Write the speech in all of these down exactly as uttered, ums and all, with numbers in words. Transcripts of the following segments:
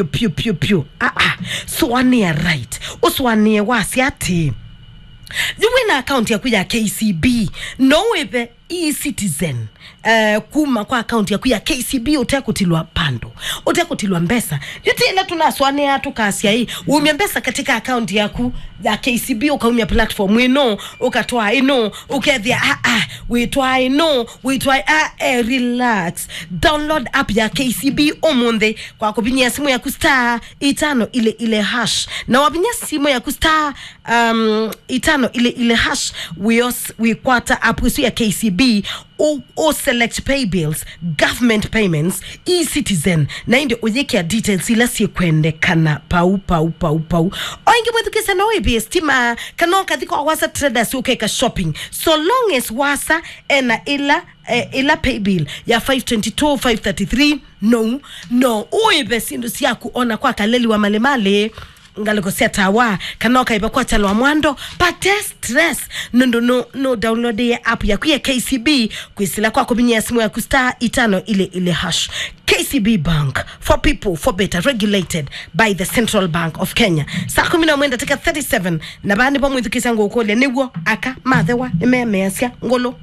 Pyu, pyu, pyu, pyu. Ah, ah. Sũanĩa right. Ũsũanĩe wasya atĩĩ, yu wĩna akaunti yaku ya K C B, no wĩve e-Citizen, eh, kuma kwa akaunti yaku ya K C B ũtekũtilwa bundle, ũtekũtilwa mbesa. Yu ti ĩla tũnasũanĩa tũkasya ĩ, umya mbesa katika akaunti yaku ya K C B, ũkaumya platform ĩno, ũkatwaa ĩno, ũkethĩa, ah, ah, wĩtwaa ĩno, wĩtwaa, ah, eh, relax. Download app ya K C B ũmũnthĩ kwa kũvinyĩa simũ yaku star itano ile ile hash. Na wavinya simũ yaku star, um, itano ile ile hash, wĩos-, wĩkwata app ĩsu ya K C B, ũ, ũ select pay bills, government payments, e-Citizen, na ĩndĩ ũyĩkĩa details ila syĩkwendekana pau, pau, pau, pau. O ĩngĩ mwĩthukĩĩsya, no wĩvĩe stima, kana ũkathi kwa Wasa Traders ũkeka shopping. So long as Wasa ena ĩla, eh, ĩla pay bill ya five twenty-two, five thirty-three, no, no ũĩve syĩndũ syaku ona kwa Kaleli wa Malimalĩ, ngalĩko sya tawa, kana ũkaĩva kwa Kyalo wa Mwando, pate stress, nũndũ nũ, nũ downloadie app yaku ya K C B kwĩsĩla kwa kũvinyĩa simũ yaku star itano ile ile hash. K C B Bank, for people, for better, regulated by the Central Bank of Kenya. Saa kũmi na ĩmwe ndatĩka thirty-seven, na vaa nĩvo mwĩthukĩĩsya ngũkũlya, nĩw'o aka mathewa nĩmemeasya ngũlũ?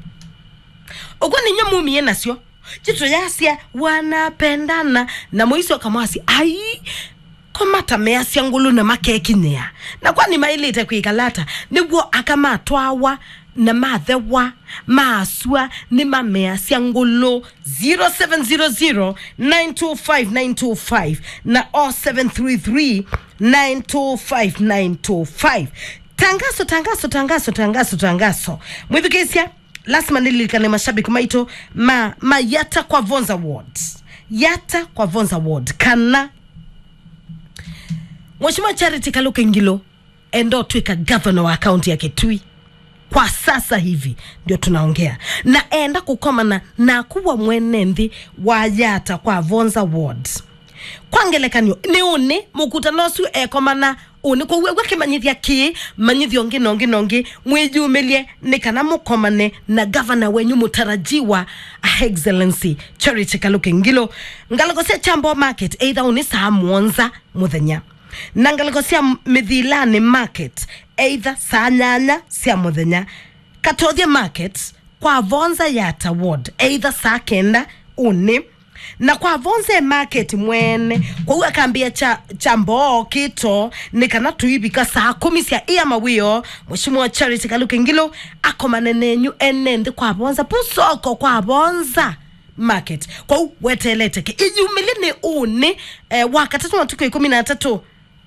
Ũkw'o nĩ inyuĩ mumie nasyo. Chitũ yasya wanapendana, na mũico kamwasi, ai, ko matameasya ngũlũ na makekinyĩa. Na kwani maĩlĩte kwĩkala ata? Nĩw'o aka matwawa na mathewa, maasw'a, nĩmameasya ngũlũ. Zero seven zero zero, nine two five, nine two five na oh seven three three, nine two five, nine two five. Tangaso, tangaso, tangaso, tangaso, tangaso. Mwĩthukĩĩsya, lasima nĩlilikane mashabiki maitũ ma, ma Yatta kwa Vonza Ward. Yatta kwa Vonza Ward. Kana Mheshimiwa Charity Kaluki Ngilu enda ũtwĩka governor wa kaunti ya Kitui. Kwa sasa hivi ndio tunaongea. Na enda kũkomana naku we mwene nthĩ wa Yatta kwa Vonza Ward. Kwa ngelekany'o, nĩ ũnĩ mũkutano ũsu ekomana ũnĩ kũu, ew'a kĩmanyĩthya kĩĩ, manyĩthyo ngĩ na ũngĩ na ũngĩ, mwĩyumĩlye nĩ kana mũkomane na gavana wenyu mũtarajiwa, Her Excellency Charity Kaluki Ngilu. Ngalĩko sya Kyamboo Market, either ũnĩ saa mũonza mũthenya. Na ngalĩko sya Mĩthilanĩ Market, either saa nyanya sya mũthenya. Katothya Market, kwa Vonza Yatta Ward, either saa kenda ũnĩ. Na kwa Vonza e market mwene, kwoou akambĩa kya, Kyamboo kĩto, nĩ kana tũivika saa kũmi sya ĩa mawĩoo, Mheshimiwa Charity Kaluki Ngilu akomane nenyu ene nthĩ kwa Vonza, pu soko kwa Vonza Market. Kwoou weteelete kĩ? Ĩyumĩlye nĩ ũnĩ, eh, wa katatũ matukũ ĩkũmi na atatũ,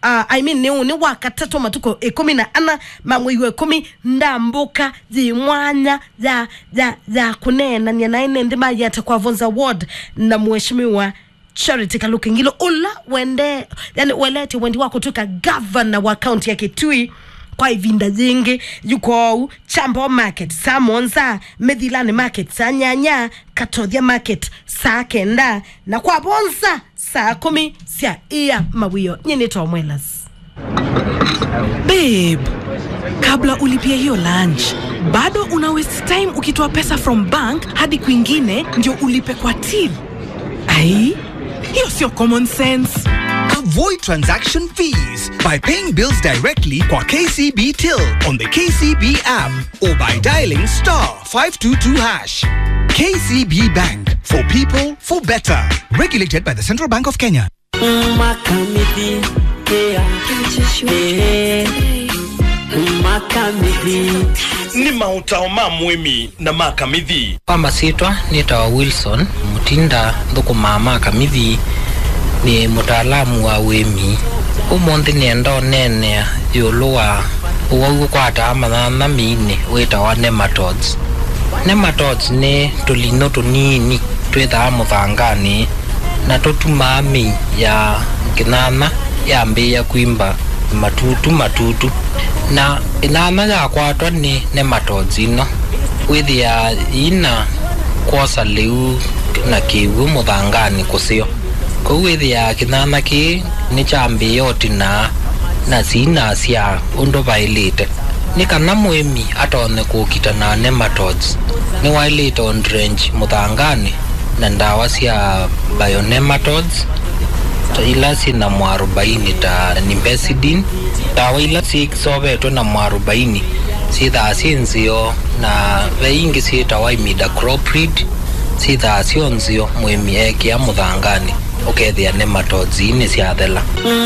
uh, I mean, nĩ ũnĩ wa katatũ matukũ ĩkũmi na ana ma mwei wa ĩkũmi, ndambũka yĩ mwanya ya, ya, ya kũneenany'a na ene nthĩ ma Yatta kwa Vonza Ward na Mheshimiwa Charity Kaluki Ngilu, ũla wende, yani, welete wendi wa kũtwĩka gavana wa kaunti ya Kitui kwa ĩvinda yĩngĩ. Yu kwoou, Kyamboo Market saa mũonza, Mĩthilanĩ Market saa nyanya, Katothya Market saa kenda, na kwa Vonza saa kũmi sya ĩa mawĩoo. Nyie nĩ Tom Elas. Babe, kabla ulipie hiyo lunch, bado una waste time ukitoa pesa from bank hadi kwingine ndio ulipe kwa till. Ai, hiyo sio common sense. Avoid transaction fees by paying bills directly kwa K C B Till on the K C B app or by dialing star five two two hash. K C B Bank, for people, for better. Regulated by the Central Bank of Kenya. Makamithi, yeah. Eh, Makamithi. Nĩ maũtao ma mũĩmi na ma Kamithi. Kwa masyĩtwa nĩtawa Wilson Mutinda, nthũkũmaa Makamithi, nĩ mũtaalamu wa ũĩmi. Ũmũnthĩ nĩenda ũneenea ĩũlũ wa ũwau ũkwataa manyanya mĩinĩ wĩtawa nematodes. Nematodes nĩ tũlinyũ tũnini twĩthaa mũthanganĩ na tũtumaa mĩi ya kĩnyanya yambĩĩa kwimba matutu matutu. Na kĩnyanya yakwatwa nĩ nematodes ino, wĩthĩaa yĩna kwosa lĩu na kĩw'ũ mũthanganĩ kũseo. Kwoou wĩthĩaa kĩnyanya kĩĩ nĩkyambĩĩa ũtinaa na syĩna sya ũndũ vaĩlĩte. Nĩ kana mũĩmi atonye kũkita na nematodes, nĩwaĩlĩte ũndrench mũthanganĩ na ndawa sya bionematodes, ila syĩ na mwarobaini ta nimbecedin. Ndawa ila syĩsovetwe na mwarobaini syĩthaa syĩ nzeo, na ve ingĩ syĩtawa imidacloprid, syĩthaa syo nzeo mũĩmi ekĩa mũthanganĩ, ũkethĩa nematodes nĩsyathela.